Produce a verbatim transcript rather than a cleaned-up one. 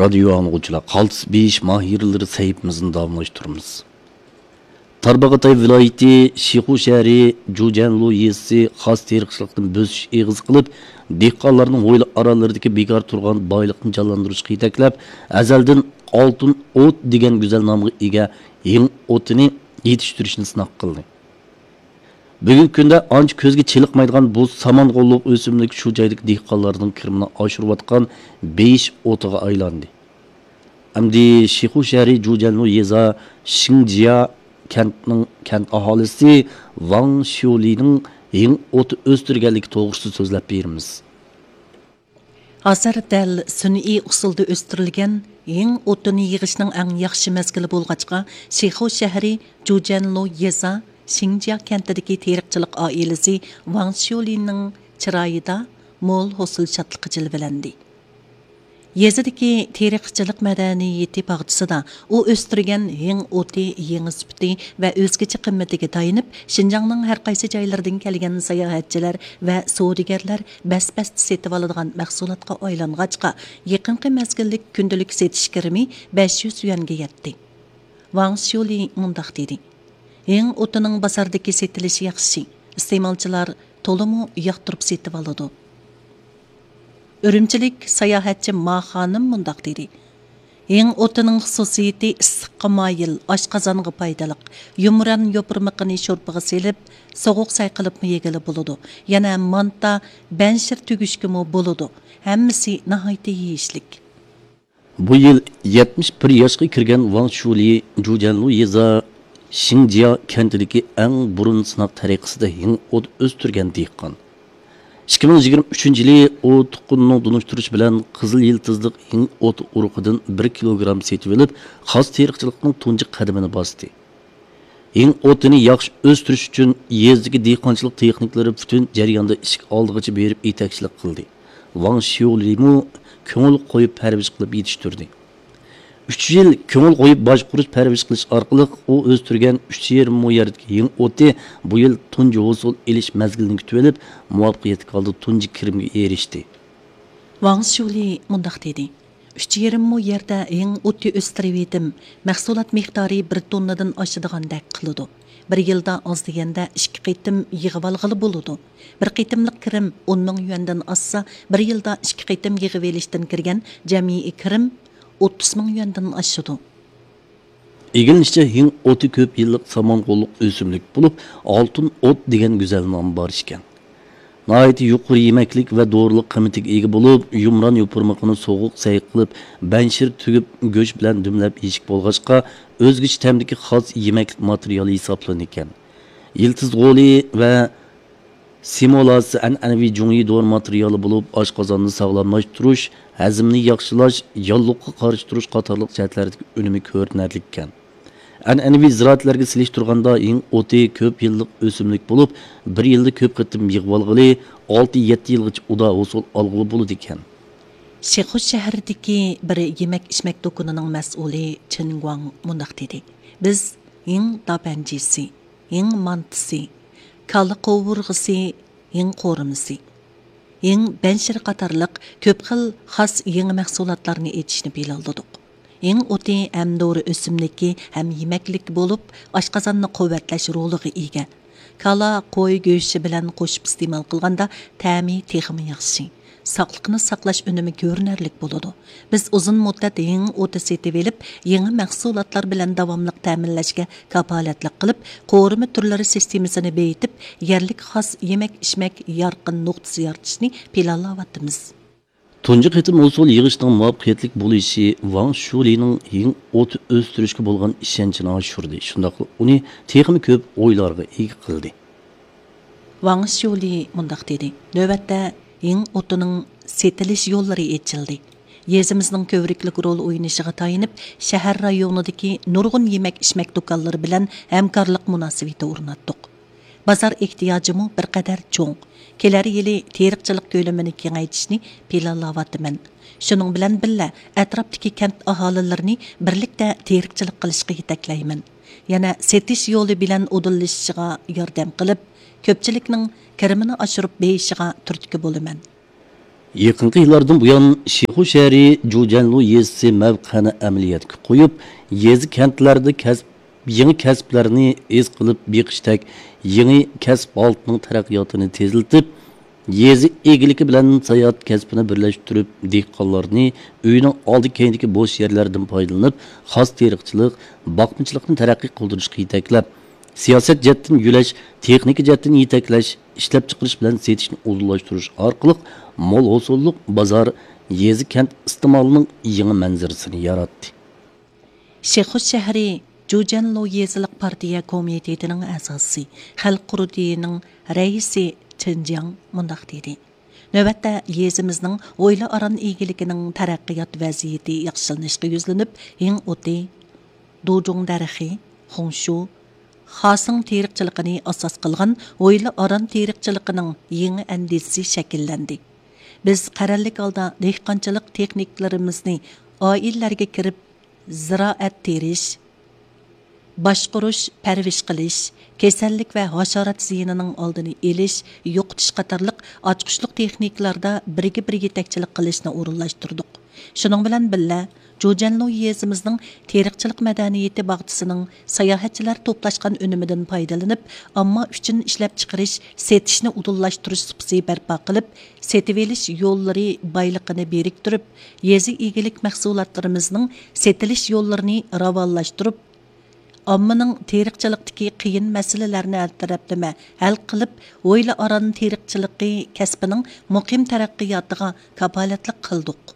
رادىيو ئاڭلىغۇچىلار، قالتىس بېيىش ماھىرلىرى سەھىپىمىزنى داۋاملاشتۇرىمىز. تارباغاتاي ۋىلايىتى شىخۇ شەھىرى جۇجەنلۇ يېزىسى خاس تېرىقچىلىقتىن بۆسۈش ئېغىزى قىلىپ، دېھقانلارنىڭ ھويلا ئاراللىرىدىكى بىكار تۇرغان بايلىقنى جانلاندۇرۇشقا يېتەكلەپ، ئەزەلدىن ئالتۇن ئوت دېگەن گۈزەل نامغا ئىگە ھېڭ ئوتىنى يېتىشتۈرۈشنى سىناق قىلدى. بۈگۈنكى كۈندە ئانچە كۆزگە چېلىقمايدىغان بۇ سامان غوللۇق ئۆسۈملۈك شۇ جايدىكى دېھقانلارنىڭ كىرىمىنى ئاشۇرۇۋاتقان بېيىش ئوتىغا ئايلاندى. ئەمدى شىخۇ شەھىرى جۇجەنلۇ يېزا شىڭجيا كەنتنىڭ كەنت ئاھالىسى ۋاڭ شيۇلىنىڭ ھېڭ ئوتى ئۆستۈرگەنلىكى توغرىسىدا سۆزلەپ بېرىمىز. ھازىر دەل سۈنئىي ئۇسۇلدا ئۆستۈرۈلگەن ھېڭ ئوتىنى يىغىشنىڭ ئەڭ ياخشى مەزگىلى بولغاچقا، شىخۇ شەھىرى جۇجەنلۇ يېزا شىڭجيا كەنتىدىكى تېرىقچىلىق ئائىلىسى ۋاڭ شيۇلىنىڭ چىرايىدا مول ھوسۇل شادلىقى جىلۋىلەندى. يېزىدىكى تېرىقچىلىق مەدەنىيىتى باغچىسىدا ئۇ ئۆستۈرگەن ھېڭ ئوتى يېڭى سۈپىتى ۋە ئۆزگىچە قىممىتىگە تايىنىپ، شىنجاڭنىڭ ھەر قايسى جايلىرىدىن كەلگەن ساياھەتچىلەر ۋە سودىگەرلەر بەس-بەستە سېتىۋالىدىغان مەھسۇلاتقا ئايلانغاچقا، يېقىنقى مەزگىللىك كۈندىلىك سېتىش كىرىمى بەش يۈز يۈەنگە يەتتى. ۋاڭ شيۇلى مۇنداق دېدى: ھېڭ ئوتىنىڭ بازاردىكى سېتىلىشى ياخشى، ئىستېمالچىلار تولىمۇ ياقتۇرۇپ سېتىۋالىدۇ. ئۈرۈمچىلىك ساياھەتچى ما خانىم مۇنداق دېدى: ھېڭ ئوتىنىڭ خۇسۇسىيىتى ئىسسىققا مايىل، ئاشقازانغا پايدىلىق. يۇمران يوپۇرمىقىنى شورپىغا سېلىپ، سوغۇق سەي قىلىپمۇ يېگىلى بولىدۇ. يەنە مانتا، بەنشىر تۈگۈشكىمۇ بولىدۇ. ھەممىسى ناھايىتى يېيىشلىك. بۇ يىل يەتمىش بىر ياشقا كىرگەن ۋاڭ شۇلى جۇجەنلۇ يېزا شىڭجيا كەنتىدىكى ئەڭ بۇرۇن سىناق تەرىقىسىدە ھېڭ ئوت ئۆستۈرگەن دېھقان. ئىككى مىڭ يىگىرمە ئۈچىنچى يىلى ئۇ تۇغقىنىنىڭ تونۇشتۇرۇشى بىلەن قىزىل يىلتىزلىق ھېڭ ئوت ئۇرۇقىدىن بىر كىلوگرام سېتىۋېلىپ، خاس تېرىقچىلىقنىڭ تۇنجى قەدىمىنى باستى. ھېڭ ئوتىنى ياخشى ئۆستۈرۈش ئۈچۈن يېزىدىكى دېھقانچىلىق تېخنىكلىرى پۈتۈن جەرياندا ئىشىك ئالدىغىچە بېرىپ يېتەكچىلىك قىلدى. ۋاڭ شيۇلىمۇ كۆڭۈل قويۇپ پەرۋىش قىلىپ يېتىشتۈردى. ئۈچ يىل كۆڭۈل قويۇپ باشقۇرۇش، پەرۋىش قىلىش ئارقىلىق ئۇ ئۆستۈرگەن ئۈچ يېرىم مو يەردىكى ھېڭ ئوتى بۇ يىل تۇنجى ھوسۇل ئېلىش مەزگىلىنى كۈتۈۋېلىپ، مۇۋەپپەقىيەتلىك ھالدا تۇنجى كىرىمگە ئېرىشتى. ۋاڭ شيۇلى مۇنداق دېدى: ئۈچ يېرىم مو يەردە ھېڭ ئوتى ئۆستۈرۈۋېتىم، مەھسۇلات مىقدارى بىر توننىدىن ئاشىدىغاندەك قىلىدۇ. بىر يىلدا ئاز دېگەندە ئىككى قېتىم يىغىۋالغىلى بولىدۇ. بىر قېتىملىق كىرىم ئون مىڭ يۈەندىن ئاشسا، بىر يىلدا ئىككى قېتىم يىغىۋېلىشتىن كىرگەن جەمئىي كىرىم ئوتتۇز مىڭ يۈەندىن ئاشىدۇ. ئىگىلىنىشىچە، ھېڭ ئوتى كۆپ يىللىق سامان غوللۇق ئۆسۈملۈك بولۇپ، ئالتۇن ئوت دېگەن گۈزەل نامى بار ئىكەن. ناھايىتى يۇقىرى يېمەكلىك ۋە دورىلىق قىممىتىگە ئىگە بولۇپ، يۇمران يوپۇرمىقىنى سوغۇق سەي قىلىپ، بەنشىر تۈگۈپ، گۆش بىلەن دۈملەپ يېيىشكە بولغاچقا، ئۆزگىچە تەمدىكى خاس يېمەكلىك ماتېرىيالى ھېسابلىنىدىكەن. يىلتىز غولى ۋە سېمولاسى ئەنئەنىۋى جۇڭيى دورا ماتېرىيالى بولۇپ، ئاشقازاننى ساغلاملاشتۇرۇش، ھەزىمنى ياخشىلاش، ياللۇغقا قارشى تۇرۇش قاتارلىق جەھەتلەردىكى ئۈنۈمى كۆرۈنەرلىككەن. ئەنئەنىۋى زىرائەتلەرگە سېلىشتۇرغاندا، ھېڭ ئوتى كۆپ يىللىق ئۆسۈملۈك بولۇپ، بىر يىلدا كۆپ قېتىم يىغىۋالغىلى، ئالتە يەتتە يىلغىچە ئۇدا ھوسۇل ئالغىلى بولىدىكەن. شىخۇ شەھىرىدىكى بىر يېمەك-ئىچمەك دۇكىنىنىڭ مەسئۇلى چېن گۇاڭ مۇنداق دېدى: بىز ھېڭ داپەنجىسى، ھېڭ مانتىسى، كالا قوۋۇرغىسى، ھېڭ قورۇمىسى، ھېڭ بەنشىرى قاتارلىق كۆپ خىل خاس يېڭى مەھسۇلاتلارنى ئېچىشنى پىلانلىدۇق. ھېڭ ئوتى ھەم دورا ئۆسۈملۈكى، ھەم يېمەكلىك بولۇپ، ئاشقازاننى قۇۋۋەتلەش رولىغا ئىگە. كالا، قوي گۆشى بىلەن قوشۇپ ئىستېمال قىلغاندا، تەمى تېخىمۇ ياخشى. ساقلىقنى ساقلاش ئۈنۈمى كۆرۈنەرلىك بولىدۇ. بىز ئۇزۇن مۇددەت ھېڭ ئوتى سېتىۋېلىپ، يېڭى مەھسۇلاتلار بىلەن داۋاملىق تەمىنلەشكە كاپالەتلىك قىلىپ، قورۇما تۈرلىرى سىستېمىسىنى بېيىتىپ، يەرلىك خاس يېمەك-ئىچمەك يارقىن نۇقتىسى يارىتىشنى پىلانلاۋاتىمىز. تۇنجى قېتىم ھوسۇل يىغىشنىڭ مۇۋەپپەقىيەتلىك بولۇشى ۋاڭ شۇلىنىڭ ھېڭ ئوتى ئۆستۈرۈشكە بولغان ئىشەنچىنى ئاشۇردى، شۇنداقلا ئۇنى تېخىمۇ كۆپ ئويلارغا ئىگە قىلدى. ۋاڭ شيۇلى مۇنداق دېدى: نۆۋەتتە ھېڭ ئوتىنىڭ سېتىلىش يوللىرى ئېچىلدى. يېزىمىزنىڭ كۆۋرۈكلۈك رول ئوينىشىغا تايىنىپ، شەھەر رايونىدىكى نۇرغۇن يېمەك-ئىچمەك دۇكانلىرى بىلەن ھەمكارلىق مۇناسىۋىتى ئورناتتۇق. بازار ئېھتىياجىمۇ بىر قەدەر چوڭ. كېلەر يىلى تېرىقچىلىق كۆلىمىنى كېڭەيتىشنى پىلانلاۋاتىمەن. شۇنىڭ بىلەن بىللە، ئەتراپتىكى كەنت ئاھالىلىرىنى بىرلىكتە تېرىقچىلىق قىلىشقا يېتەكلەيمەن. يەنە سېتىش يولى بىلەن ئۇدۇللىشىشىغا ياردەم قىلىپ، كۆپچىلىكنىڭ كىرىمىنى ئاشۇرۇپ بېيىشىغا تۈرتكە بولىمەن. يېقىنقى يىللاردىن بۇيان، شىخۇ شەھىرى جۇجەنلۇ يېزىسى مەۋقەنى ئەمەلىيەتكە قويۇپ، يېزا، كەنتلەردە كەسىپ، يېڭى كەسىپلەرنى ئىز قىلىپ بېقىشتەك يېڭى كەسىپ ھالىتىنىڭ تەرەققىياتىنى تېزلىتىپ، يېزا ئىگىلىكى بىلەن ساياھەت كەسپىنى بىرلەشتۈرۈپ، دېھقانلارنى ئۆينىڭ ئالدى، كەينىدىكى بوش يەرلەردىن پايدىلىنىپ، خاس تېرىقچىلىق، باقمىچىلىقنى تەرەققىي قىلدۇرۇشقا يېتەكلەپ، سىياسەت جەھەتتىن يۆلەش، تېخنىكا جەھەتتىن يېتەكلەش، ئىشلەپچىقىرىش بىلەن سېتىشنى ئۇلۇغلاشتۇرۇش ئارقىلىق مول ھوسۇللۇق بازار، يېزا، كەنت ئىستېمالىنىڭ يېڭى مەنزىرىسىنى ياراتتى. شىخۇس شەھىرى جۇجەنلۇ يېزىلىق پارتىيە كومىتېتىنىڭ ئەزاسى، خەلق قۇرۇلتىيىنىڭ رەئىسى چېن جياڭ مۇنداق دېدى: نۆۋەتتە يېزىمىزنىڭ ھويلا ئاران ئىگىلىكىنىڭ تەرەققىيات ۋەزىيىتى ياخشىلىنىشقا يۈزلىنىپ، ھىڭ ئوتى، دۇجۇڭ دەرىخى، خۇڭشۇ، خاسىڭ تېرىقچىلىقىنى ئاساس قىلغان ھويلا ئاران تېرىقچىلىقىنىڭ يېڭى ئەندىزىسى شەكىللەندى. بىز قەرەللىك ھالدا دېھقانچىلىق تېخنىكىلىرىمىزنى ئائىلىلەرگە كىرىپ، زىرائەت تېرىش، باشقۇرۇش، پەرۋىش قىلىش، كېسەللىك ۋە ھاشارات زىيىنىنىڭ ئالدىنى ئېلىش، يوقىتىش قاتارلىق ئاچقۇچلۇق تېخنىكىلاردا بىرگە بىر يېتەكچىلىك قىلىشنى ئورۇنلاشتۇردۇق. شۇنىڭ بىلەن بىللە، جۇجەنلۇ يېزىمىزنىڭ تېرىقچىلىق مەدەنىيىتى باغچىسىنىڭ ساياھەتچىلەر توپلاشقان ئۈنۈمىدىن پايدىلىنىپ، ئامما ئۈچۈن ئىشلەپچىقىرىش، سېتىشنى ئۇدۇللاشتۇرۇش سۇپىسى بەرپا قىلىپ، سېتىۋېلىش يوللىرى بايلىقىنى بىرىكتۈرۈپ، يېزا ئىگىلىك مەھسۇلاتلىرىمىزنىڭ سېتىلىش يوللىرىنى راۋانلاشتۇرۇپ، ئاممىنىڭ تېرىقچىلىقتىكى قىيىن مەسىلىلەرنى ھەل تەرەپلىمە ھەل قىلىپ، ھويلا ئاران تېرىقچىلىقى كەسپىنىڭ مۇقىم تەرەققىياتىغا كاپالەتلىك قىلدۇق.